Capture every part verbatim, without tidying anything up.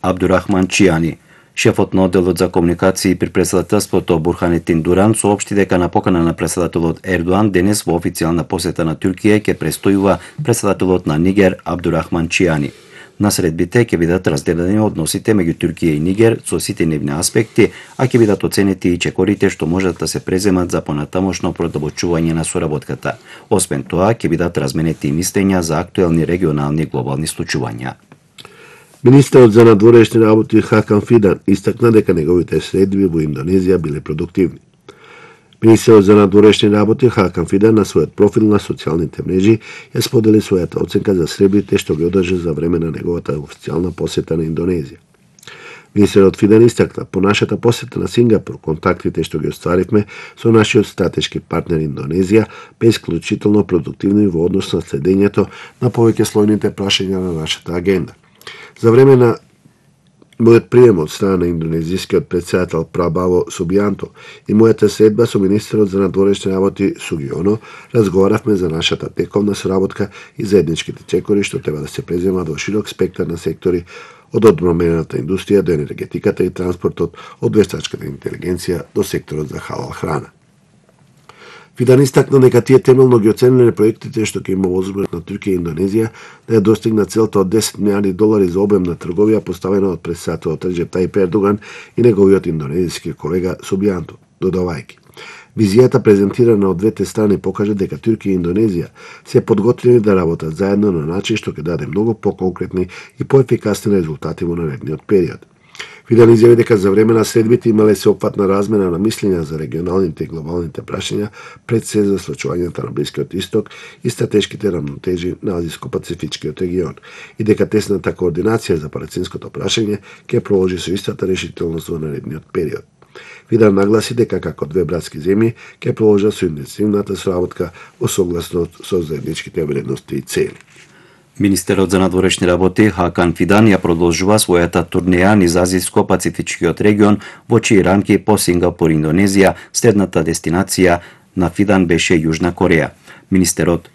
Абдурахман Чијани. Шефот на одделот за комуникации при председателството Бурханетин Дуран соопшти дека на покана на председателот Ердоан денес во официјална посета на Туркија ќе престојува председателот на Нигер Абдурахман Чијани. На средбите ќе бидат разделени односите меѓу Туркија и Нигер со сите нивни аспекти, а ќе бидат оценети и чекорите што можат да се преземат за понатамошно продолбочување на соработката. Освен тоа, ќе бидат разменети и мислења за актуелни регионални глобални случувања. Министерот за надворешни работи Хакан Фидан истакна дека неговите средби во Индонезија биле продуктивни. Министерот за надворешни работи Хакан Фидан на својот профил на социјалните мрежи ја сподели својата оценка за средбите што ги одржа за време на неговата официјална посета на Индонезија. Министерот Фидан истакна: по нашата посета на Сингапур, контактите што ги остваривме со нашиот стратешки партнер Индонезија бе исклучително продуктивни во однос на следењето на повеќе слојните прашања на нашата агенда. За време на мојот прием од страна на индонезискиот председател Прабаво Субијанто и мојата средба со министерот за надворешни работи Сугионо разговаравме за нашата тековна соработка и заедничките чекори што треба да се преземат во широк спектар на сектори, од одбрамбената индустрија до енергетиката и транспортот, од вештачката интелигенција до секторот за халал храна. Фидан истакна дека тие темелно ги оцениле проектите што ќе има возможност на Туркија и Индонезија да ја достигнат целта од десет милијарди долари за обем на трговија поставена од председателот Реджеп Тајип Ердоган и неговиот индонезиски колега Субијанто, додавајќи: визијата презентирана од двете страни покажа дека Туркија и Индонезија се подготвени да работат заедно на начин што ќе даде многу поконкретни и поефикасни резултати во наредниот период. Фидан изјави дека за време на средбите имале сеопфатна размена на мислења за регионалните и глобалните прашања, пред се за случувањата на Блискиот Исток и стратешките рамнотежи на Азиско-Пацифичкиот регион, и дека тесната координација за палестинското прашање ќе продолжи со истата решителност во наредниот период. Фидан нагласи дека како две братски земји ќе продолжат со интензивната соработка во согласност со заедничките вредности и цели. Министерот за надворешни работи Хакан Фидан ја продолжува својата турнеја низ Азиско-Пацифичкиот регион, во чии рамки по Сингапур и Индонезија следната дестинација на Фидан беше Јужна Кореја. Министерот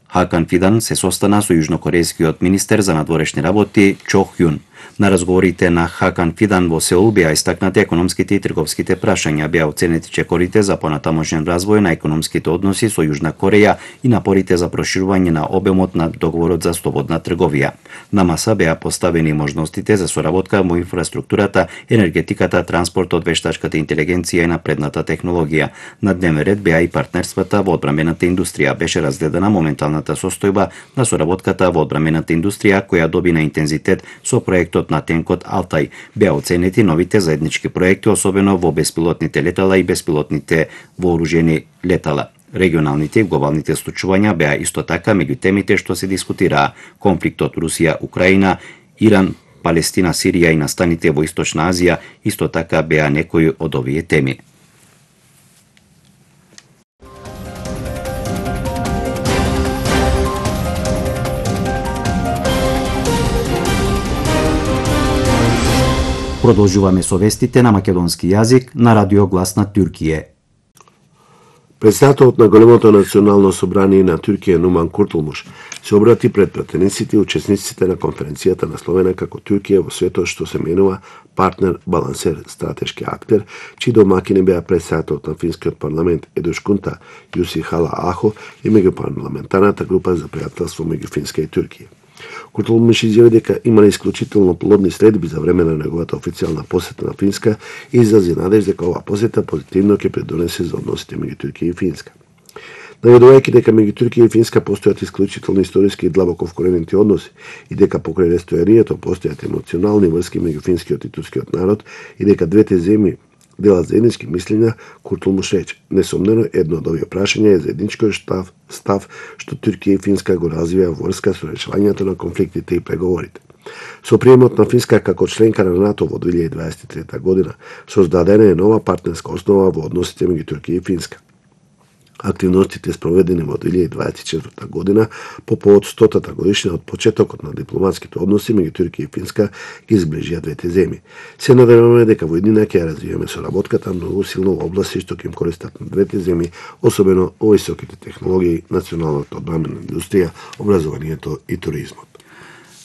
Хакан Фидан се состана со јужнокорејскиот министер за надворешни работи Чо Хјун. На разговорите на Хакан Фидан во Сеул беа истакнати економските и трговските прашања, беа оценети чекорите за понатамошен развој на економските односи со Јужна Кореја и напорите за проширување на обемот на договорот за слободна трговија. На маса беа поставени можностите за соработка во инфраструктурата, енергетиката, транспортот, вештачката интелигенција и напредната технологија. На дневен ред беа и партнерствата во одбрамбената индустрија. Беше разгледана моменталната состојба на соработката во одбрамбената индустрија, која доби на интензитет со проектот на тенкот Алтай. Беа оценети новите заеднички проекти, особено во беспилотните летала и беспилотните вооружени летала. Регионалните и глобалните случувања беа исто така меѓу темите што се дискутираа: конфликтот Русија-Украина, Иран, Палестина, Сирија и настаните во Источна Азија исто така беа некои од овие теми. Продолжуваме со вестите на македонски јазик на Радио Глас на Туркија. Председателот на големото национално собрание на Туркија Нуман Куртулмуш се обрати пред пратениците и учесниците на конференцијата насловена како Туркија во светот што се менува партнер, балансер, стратешки актер, чии домакини беа председателот на финскиот парламент Едушкунта Јуси Хала Ахо и меѓупарламентарната група за пријателство меѓу Финска и Туркија. Куртулмуш изјави дека имале исклучително плодни средби за време на неговата официјална посета на Финска и изрази надеж дека оваа посета позитивно ќе придонесе за односите меѓу Туркија и Финска. Наведувајќи дека меѓу Туркија и Финска постојат исклучително историски и длабоко вкоренети односи и дека покрај рестојарието постојат емоционални врски меѓу финскиот и турскиот народ и дека двете земји делат заеднички мислења, Куртулмуш рече: несомнено едно од овие прашања е заедничкиот став, став што Туркија и Финска го развија во врска со решавањето на конфликтите и преговорите. Со приемот на Финска како членка на НАТО во две илјади дваесет и трета година, создадена е нова партнерска основа во односите меѓу Туркија и Финска. Активностите спроведени во две илјади дваесет и четврта година по повод стотата годишнина од почетокот на дипломатските односи меѓу Туркија и Финска ги зближија двете земји. Се надеваме дека во иднина ќе развиеме соработката многу силно во области што ќе им користат на двете земји, особено во високите технологии, националната одбрамбена индустрија, образованието и туризмот.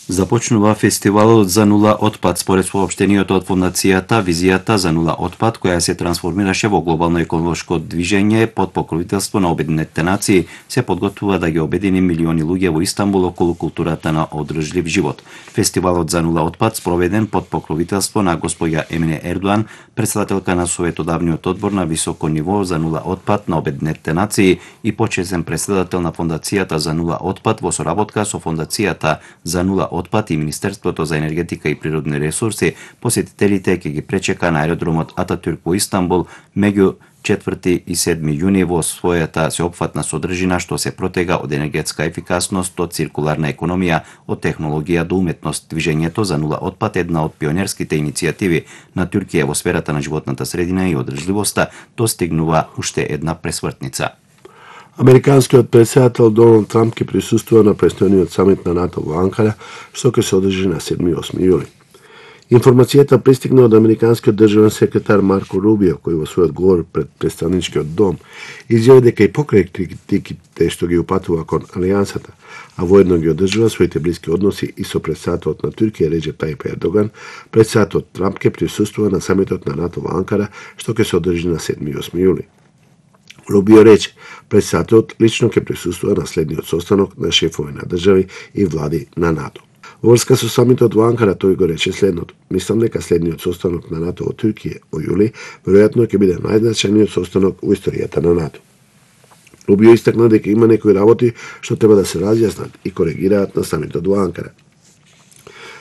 Започнува фестивалот за нула отпад според соопштението од фондацијата Визијата за нула отпад, која се трансформираше во глобално еколошко движење под покровителство на Обединетите нации, се подготвува да ги обедини милиони луѓе во Истанбул околу културата на одржлив живот. Фестивалот за нула отпад спроведен под покровителство на госпоѓа Емине Ердоан, председателка на Советодавниот одбор на високо ниво за нула отпад на Обединетите нации и почесен председател на фондацијата за нула отпад во соработка со фондацијата за нула отпад и Министерството за енергетика и природни ресурси, посетителите ќе ги пречека на аеродромот Ататюрк во Истанбул меѓу четврти и седми јуни во својата сеопфатна содржина што се протега од енергетска ефикасност, од циркуларна економија, од технологија до уметност. Движењето за нула отпад е една од пионерските иницијативи на Туркија во сферата на животната средина и одржливоста, достигнува уште една пресвртница. Американскиот председател Доналд Трамп ќе присуствува на престојниот самит на НАТО во Анкара, што ќе се одржи на седми и осми јули. Информацијата пристигна од американскиот државен секретар Марко Рубио, кој во својот говор пред представничкиот дом изјави дека и покрај критиките што ги упатува кон алијансата, а воедно ги одржува своите блиски односи и со председателот на Туркија Реджеп Тајип Ердоган, председателот Трамп ќе присуствува на самитот на НАТО во Анкара, што ќе се одржи на седми и осми јули. Рубио рече, председателот лично ќе присуствува на следниот состанок на шефови на држави и влади на НАТО. Во врска со самитот во Анкара тој го рече следното: мислам дека следниот состанок на НАТО во Туркија во јули веројатно ќе биде најзначајниот состанок во историјата на НАТО. Рубио истакна дека има некои работи што треба да се разјаснат и коригираат на самитот во Анкара.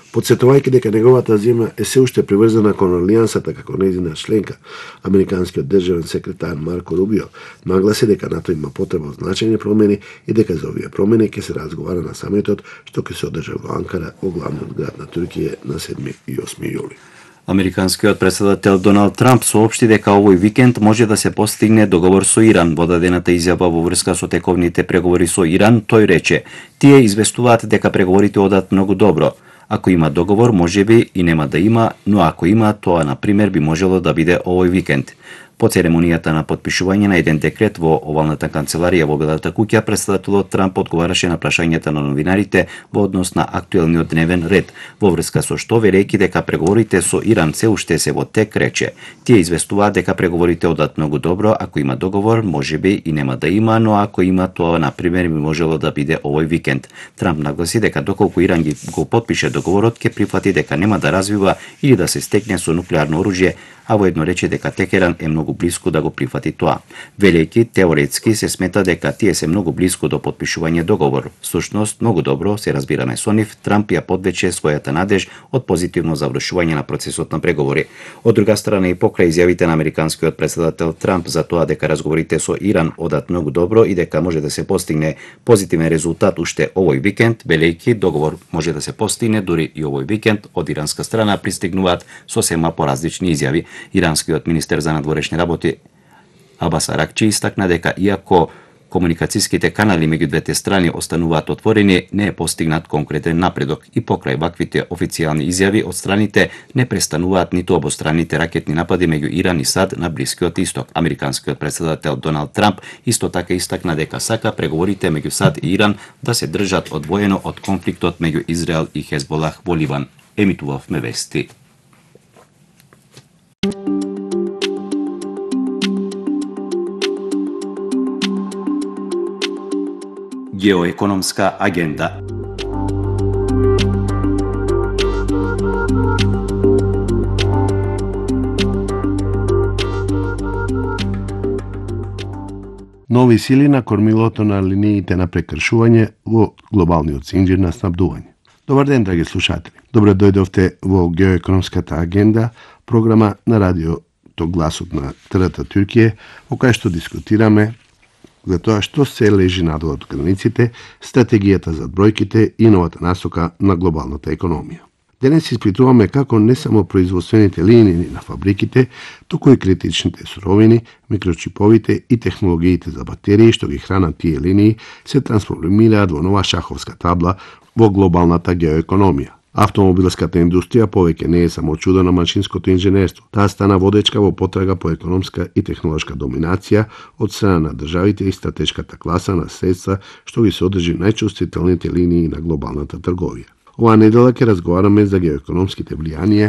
Подсетувајќи дека неговата земја е се уште приврзана кон алијансата како нејзина членка, американскиот државен секретар Марко Рубио нагласи дека НАТО има потреба од значајни промени и дека за овие промени ќе се разговара на самитот што ќе се одржа во Анкара, во главниот град на Туркија, на седми и осми јули. Американскиот председател Доналд Трамп соопшти дека овој викенд може да се постигне договор со Иран. Во дадената изјава во врска со тековните преговори со Иран, тој рече: "Тие известуваат дека преговорите одат многу добро. Ако има договор, можеби и нема да има, но ако има, тоа на пример би можело да биде овој викенд." По церемонијата на потпишување на еден декрет во овалната канцеларија во Белата куќа, председателот Трамп одговараше на прашањата на новинарите во однос на актуелниот дневен ред, во врска со што, верејќи дека преговорите со Иран се уште се во тек, рече: "Тие известуваат дека преговорите одат многу добро, ако има договор, можеби и нема да има, но ако има, тоа на пример би можело да биде овој викенд." Трамп нагласи дека доколку Иран ги го потпише договорот, ќе прифати дека нема да развива или да се стекне со нуклеарно оружје, а воедно рече дека Текеран е многу блиску да го прифати тоа. Велејќи, теоретски се смета дека тие се многу блиску до потпишување договор. Всушност, многу добро се разбираме со нив, Трамп ја подвече својата надеж од позитивно завршување на процесот на преговори. Од друга страна, и покрај изјавите на американскиот председател Трамп за тоа дека разговорите со Иран одат многу добро и дека може да се постигне позитивен резултат уште овој викенд, велејќи договор може да се постигне дури и овој викенд, од иранска страна пристигнуваат сосема поразлични изјави. Иранскиот министер за надворешни работи Абас Аракчи истакна дека иако комуникацијските канали меѓу двете страни остануваат отворени, не е постигнат конкретен напредок и покрај ваквите официјални изјави од страните не престануваат ниту обостранните ракетни напади меѓу Иран и САД на Блискиот Исток. Американскиот председател Доналд Трамп исто така истакна дека сака преговорите меѓу САД и Иран да се држат одвоено од конфликтот меѓу Израел и Хезболах во Ливан. Емитувавме вести. Геоекономска агенда. Нови сили на кормилото на линиите на прекршување во глобалниот синџир на снабдување. Добар ден, драги слушатели. Добре дојдовте во Геоекономската агенда, програма на радиото Гласот на Трета Туркија, во кај што дискутираме за тоа што се лежи надвор од границите, стратегијата за бројките и новата насока на глобалната економија. Денес испитуваме како не само производствените линии на фабриките, туку и критичните суровини, микрочиповите и технологиите за батерии што ги хранат тие линии се трансформираат во нова шаховска табла во глобалната геоекономија. Автомобилската индустрија повеќе не е само чудо на машинското инженерство. Таа стана водечка во потрага по економска и технолошка доминација од страна на државите и стратешката класа на средства што ги се одржи најчувствителните линии на глобалната трговија. Оваа недела ќе разговараме за геоекономските влијанија